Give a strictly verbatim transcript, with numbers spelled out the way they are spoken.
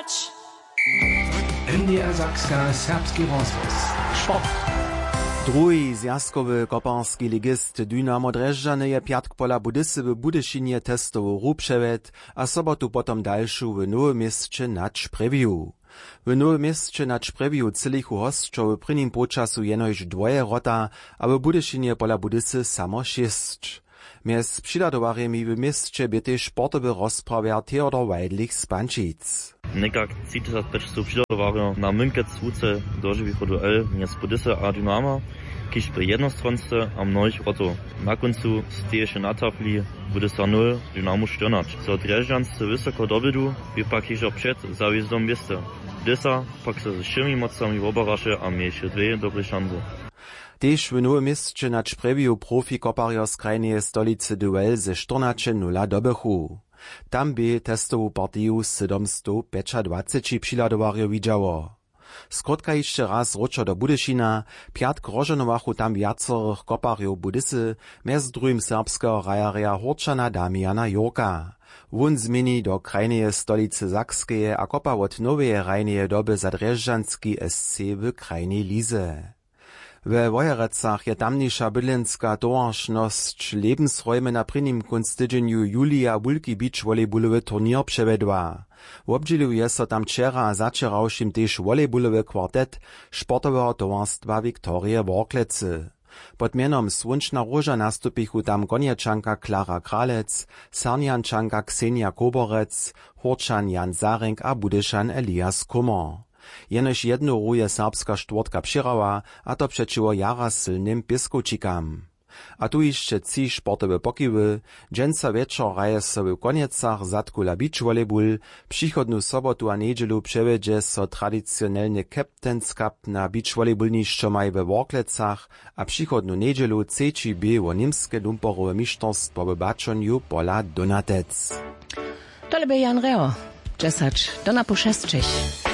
N D R Sakska, serbski rozhłos. Druhi zwjazkowy koparski ligist Dynamo Drježdźany je pjatk pola Budysy w Budyšinje testowu hru přewjedł a sobotu potom dalšu w Nowym Měsće na Čprjewiu. W Nowym Měsće na Čprjewiu třělichu hosćo w prěnim połčasu jenož dwoje wrota a w Budyšinje pola Budysy samo šěsć. Mjez přihladowarjemi w měsće bě tež sportowy rozprawjer Theodor Weidlich z Pančic. Někak tři tysac pjećstow přihladowarjow na mynkec wuce dožiwichu duel mjez Budysy a Dynama, kiž bě jednostronsce a mnohich wrotow. Na kóncu steješe na tafli Budysa nul, Dynamo štyrnaće. Zo Drježdźanscy wysoko dobědu bě pak hižo před zawězdom wěste. Budysa pak so ze wšěmi mocami wobaraše a měješe dwě dobre šanse. Tež w Nowym Měsće na Čprjewju profi koparjo z krajneje stolicy duel ze štyrnaće nula dobychu. Tam bě testowu partiju sydomstowpjećadwaceći přihladowarjow widźało. Skrótka hišće raz wróćo do Budyšina. Pjatk rozžohnowachu tam wjacorych koparjow Budysy, mjez druhim serbskeho hrajerja Hórčana Damiana Jurka. Wón změni do krajneje stolicy Sakskeje a kopa wot noweje hrajneje doby za drježdźanski S C w krajnej lize. We Wojerecach je tamniša bydlenska towaršnosć Lebensräume na prěnim kónc tydźenju julija wulki beachvolleybulowy turněr přewjedła. Wobdźělił je so tam wčera a zawčerawšim tež volejbulowy kwartet sportoweho towarstwa Viktorije Worklecy. Pod mjenom Słónčna róža nastupichu tam konječanka Klara Kralec, Sarnjančanka Ksenija Koborec, Hórčan Jan Zarink a Budyšan Elias Kummer. Jenož jednu hru je serbska štwórtka přěhrała, a to přećiwo jara sylnym Pěskowčikam. A tu hišće tři sportowe pokiwy. Dźensa wječor hraje so w Konjecach zadkula beachvolleyball, přichodnu sobotu a njedźelu přewjedźe so tradicionelny Captain's Cup na beachvolleyballnišćomaj we Worklecach a přichodnu njedźelu třeći bě wo němske lumporowe mišterstwo w baćonju pola Donatec. Tole bě Jan Reho, dźesać do napoł šesćich.